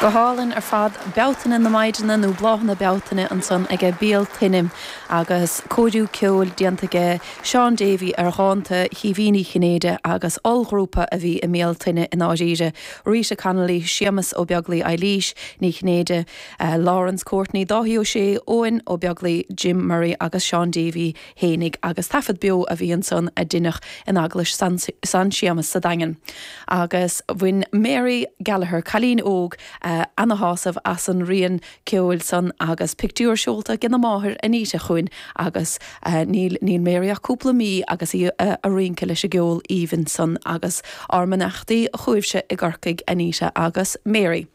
Go hálainn ar fad. Bealtaine na Maighdine nó Bláthanna Bealtaine ansan aige Béal Tuinne agus cóiriú ceoil déanta aige Seán Davey ar dhánta Chaoimhín Uí Chinnéide agus ollghrúpa a bhí i mBéal Tuinne i ndáiríre, Rita Connolly, Séamus Ó Beaglaoi Eilís Ní Chinnéide, Laurence Courtney, Dáithí Ó Sé, Eoin Ó Beaglaoi, Jim Murray agus Seán Davey fhéinig agus taifead beo a bhí ansan a deineadh in Eaglais San Séamas sa Daingean. Agus bhain Mary Gallagher, cailín óg, ana-shásamh as an rian ceoil san agus pictiúr seolta agena máthair Anita chugainn agus níl níl Mary ach cúpla mí agus í a' rince leis an gceol aoibhinn san agus ár mbeannachtaí chugaibhse i gCorcaigh Anita agus Mary.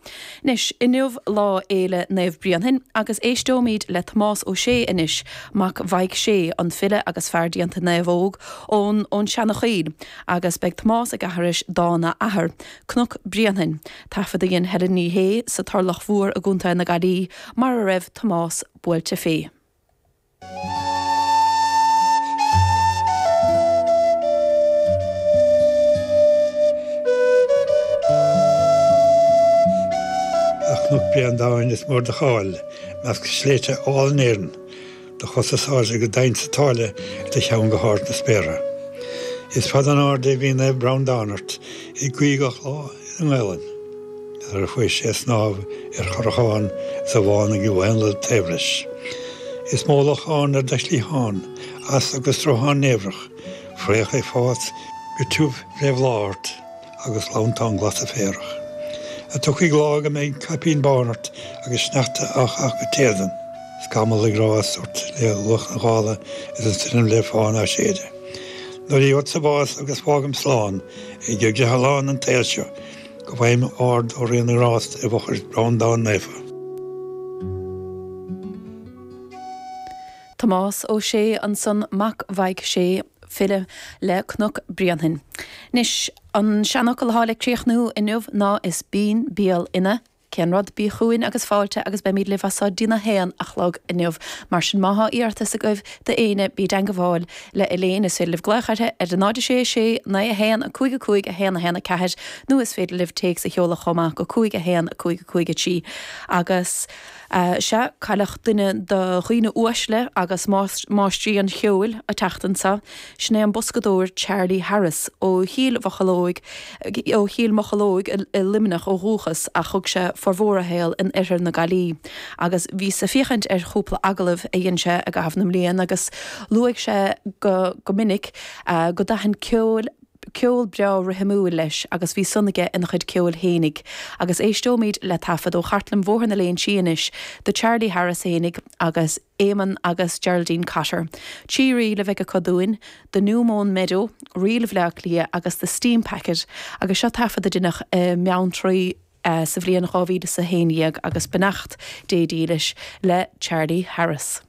Anois, inniu lá Fhéile Naomh Bréanainn agus éisteoimid le Tomás Ó Sé anois, mac Mhaidhc Sé, an file agus fear déanta naomhóg ón ón Seanachoill, agus beidh Tomás ag aithris dán a athar, Cnoc Bréanainn, taifead a dhein Helen Ní Shé sa Turlach Mhór i gContae na Gaillimhe, mar a raibh Tomás buailte fé. A Chnoc Breandáin is mór do cháil measc sléibhte álainn Éireann, Do chosa is airde go domhain sa tsáile is do cheann go hard sna spéartha. Is fada an airde a bhí Naomh Breandán ort ag guí gach lá i nGaelainn. Nuair a chuaigh sé ag snámh ar chorrachán is a bhán ag éanlaith taobh leis. Is mó lochán ar do chliathán, easa agus sruthán niamhrach, fraoch ag fás go tiubh fé bhláth ort agus gleanntáin glasa féarach. A tiocfaidh lá go mbeidh caipín bán ort agus sneachta á chaitheamh go t-éadan. Scamall ag rás ort le luach na gála is an stoirm le fán á séideadh. Nuair a gheobhadsa bás agus fágaim slán ag griothlann an tsaoil seo, go bhfaighim ard ó Rí na nGrást i bhfochair Breandán Naofa. Tomás Ó Sé ansan, mac Mhaidhc Sé, file le Cnoc Bréanainn. Anois, an seanfhocal atá le críochnú inniu ná is binn béal ina. Cén rud, bí chugainn agus fáilte agus beimid libh as so dtína haon a chlog inniu. Mar sin má thá iarratas agaibh d'éinne bí i dteangabháil le Elaine, is féidir libh glaoch uirthi ar 0 6 6 9 1 5 5 1 1 4 nó is féidir libh téacs a sheoladh chomh maith go 5 1 5 5 3 agus Sea, cailleadh duine de dhaoine uaisle agus máistrí an cheoil an tseachtain seo. Sin é an boscadóir Charlie Harris, ó Chill Mhocheallóg, ó Chill Mocheallóg i Luimneach ó dhúchas ach thug sé formhór a shaol in oirthear na Gaillimhe. Agus bhíos ag féachaint ar chúpla agallamh a dhein sé i gcaitheamh na mblian agus luaigh sé go minic go dtaithin ceol, ceol breá rithimiúil leis agus bhí san aige ina chuid ceoil fhéinig. Agus éisteoimid le taifead ó chartlann Bhóthar na Léinsí anois de Charlie Harris fhéinig agus Éamonn agus Geraldine Cotter. Trí ríl a bheidh acu dúinn, The New Mown Meadow, Ríl Bhaile Átha Cliath agus The Steam Packet agus seo taifead a deineadh i mBeanntraí sa bhliain 2011 agus beannacht Dé dílis le Charlie Harris.